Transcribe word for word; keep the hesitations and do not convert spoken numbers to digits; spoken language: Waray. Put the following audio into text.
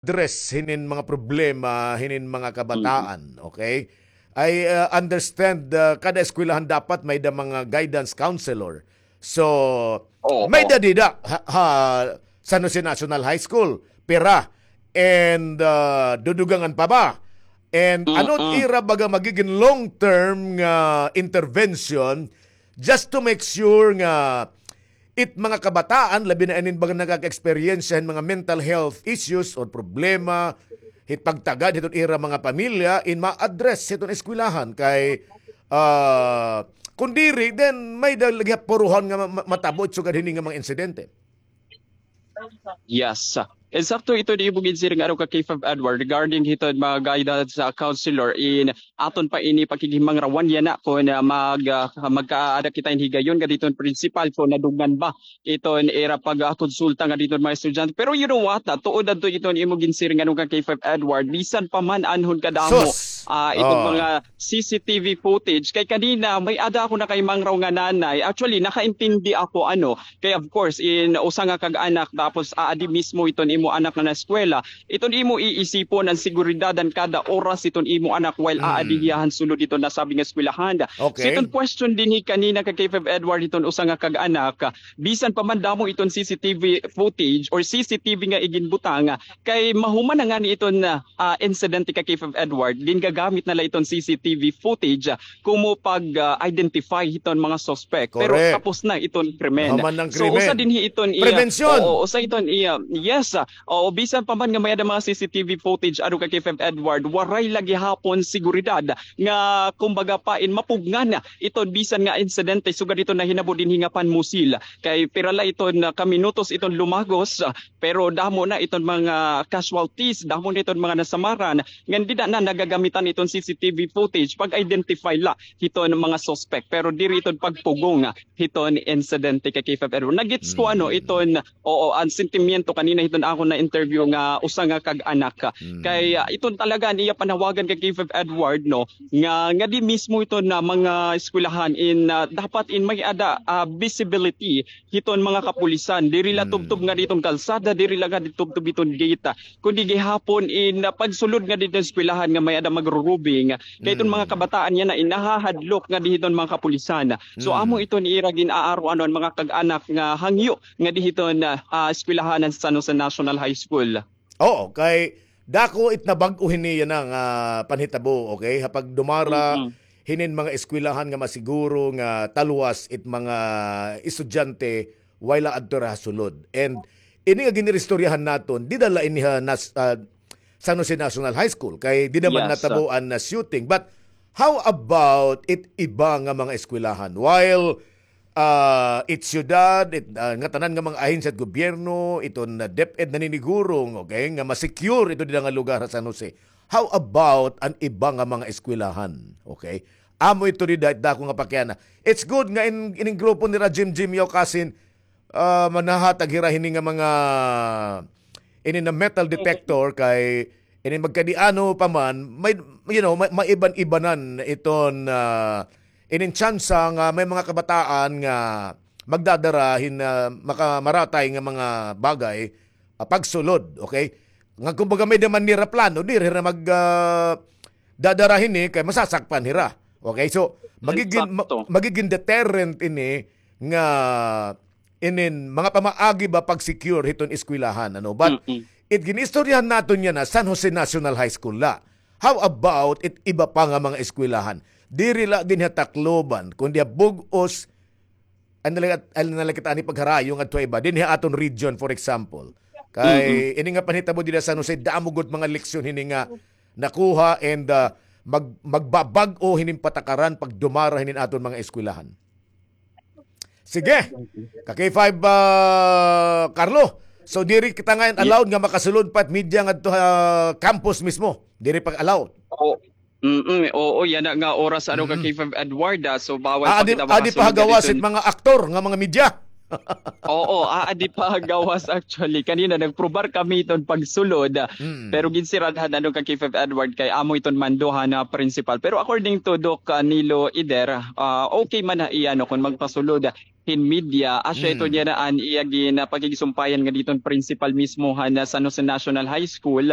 address hinin mga problema hinin mga kabataan, okay? I, uh, understand, uh, kada eskwelahan dapat may da mga guidance counselor. So, may da dida ha, ha San Jose National High School, pira, and, uh, dudugangan pa ba? And ano ira baga magigin long-term nga intervention just to make sure nga it mga kabataan, labi na inin baga nakaka-experience hin mga mental health issues or problema, hit pagtagad hiton ira mga pamilya, in ma-address hiton eskwelahan kay, ah, kun diri, then may da lagi puruhan nga ma-, ma-, matabo it sugad hini nga mga insidente. Yes. Insakto ito di imo ginsiring ano ka K five Edward regarding hiton mga guidance, ah, counselor in aton pa ini pakighimangrawan yana kon, ah, mag, ah, magkaada kita hin higayon nga diton principal kon nadunggan ba iton ira pag, ah, konsulta nga diton mga estudyante. Pero you know what? Ah, tuod adto iton imo ginsiring ano ka K five Edward. Bisan pa man anhon kadamo, ah, iton mga C C T V footage. Kay kanina, may-ada ako nakaimangraw nga nanay. Actually, nakaintindi ako, ano. Kay of course, in usa nga kag-anak, tapos aadi mismo iton imo anak nga naeskwela, iton imo iisipon an seguridad han kada oras iton imo anak while aadi hiya han sulod iton nasabi nga eskwelahan. So iton question dinhi kanina kay K five Edward iton usa nga kag-anak, bisan pa man damo iton C C T V footage or C C T V nga iginbutang, kay mahuman na ngani iton, ah, ah, insidente ka K five Edward, gingagamit na la iton C C T V footage, ah, komo pag, ah, identify hiton mga suspect. Pero tapos na iton krimen. So, usa dinhi iton iya, oo, usa iton iya, yes, ah, oo, bisan pa man nga may-ada mga C C T V footage, ano ka K five Edward, waray la gihapon seguridad nga, kumbaga pa, in mapugngan iton bisan nga insidente, sugad iton nahinabo dinhi nga Pan Musil. Kay pira la iton, ah, ka minutos iton lumagos, ah, pero damo na iton mga casualties, damo na iton mga nasamaran, ngan dida na nagagamitan iton C C T V footage pag-identify la hiton mga suspect, pero diri iton pagpugong hiton insidente ka K five Edward. Nagets ko ano iton, oo, an sentimiento kanina hiton akon na-interview nga usa nga kag-anak. Kay, ah, iton talaga an iya panawagan ka K five Edward, no, nga, nga di mismo iton na mga eskwelahan in, ah, dapat in may-ada, ah, visibility hiton mga kapulisan. Diri la tubtob nga diton kalsada, diri la nga di tubtob iton gate, kundi gihapon in, ah, pagsulod nga diton eskwelahan nga may-ada magrurubing. Kay iton mga kabataan yana in nahahadlok nga di hiton mga kapulisan. So, amo iton ira gin-aaruan an mga kag-anak nga hangyo nga di hiton, ah, ah, eskwelahan han San Jose National High School. Oo, kay dako it nabag-o hini yana nga panhitabo, okay? Ha pagdumara hinin mga eskwelahan nga masiguro nga talwas it mga estudyante way la adto ha sulod. And ini nga giniristoryahan naton, dida la ini ha nas-, ah, San Jose National High School, kay dida man natabo an, ah, shooting. But how about it iba nga mga eskwelahan? While ah, it syudad, it, ah, ngatanan nga mga ahensya hit gobyerno, iton, ah, DepEd naniniguro, okay, nga ma-secure ito dida nga lugar ha San Jose. How about an iba nga mga eskwelahan? Okay? Amo ito dida it dako nga pakiana. It's good nga in, ining grupo nira Jim Jim Yaukasin, ah, manahatag hira hini nga mga ini na metal detector kay ini magkadiano pa man, may, you know, may, maiban-ibanan iton, ah, inin tsansa nga may mga kabataan nga magdadara hin, ah, makamaratay nga mga bagay, ah, pagsulod, okay? Nga kumbaga may-ada man nira plano, diri hira mag, ah, dadara hini kay masasakpan hira. Okay, so magigin-, ma-, magigin deterrent ini nga inin mga pamaagi ba pag-secure hiton eskwelahan, ano? But it ginistoryahan naton yana San Jose National High School la. How about it iba pa nga mga eskwelahan? Diri la dinhi ha Tacloban, kundi ha bug-os, ano na la, ano na la kita ani pagharayo ngadto ha iba. Dinhi ha aton region, for example. Kay ini nga panhitabo dida ha San Jose, damo gud mga leksyon hini nga nakuha and, ah, mag-, magbabag-o hinin patakaran pagdumara hinin aton mga eskwelahan. Sige. Ka K five, ah, Carlo. So, diri kita ngay-an allowed nga makasulod pa it media ngadto ha campus mismo. Diri pa allowed. Oo. Mm, oo, yana nga oras, ano, ka K five Edward, ah. So, bawal pa kita makasundo didto. Adi pa ha gawas it mga aktor nga mga media. Oo, aadi pa gawas actually. Kanina nagprobar kami iton pagsulod. Pero ginsirad han ano kan K five Edward kay amo iton mando han principal. Pero according to Doc, ah, Nilo Eder, ah, okay man ha iya, no, kon magpasulod hin media, asya ito niya na an iya gin, ah, pakigsumpayan nga diton principal mismo han, ah, San Jose National High School.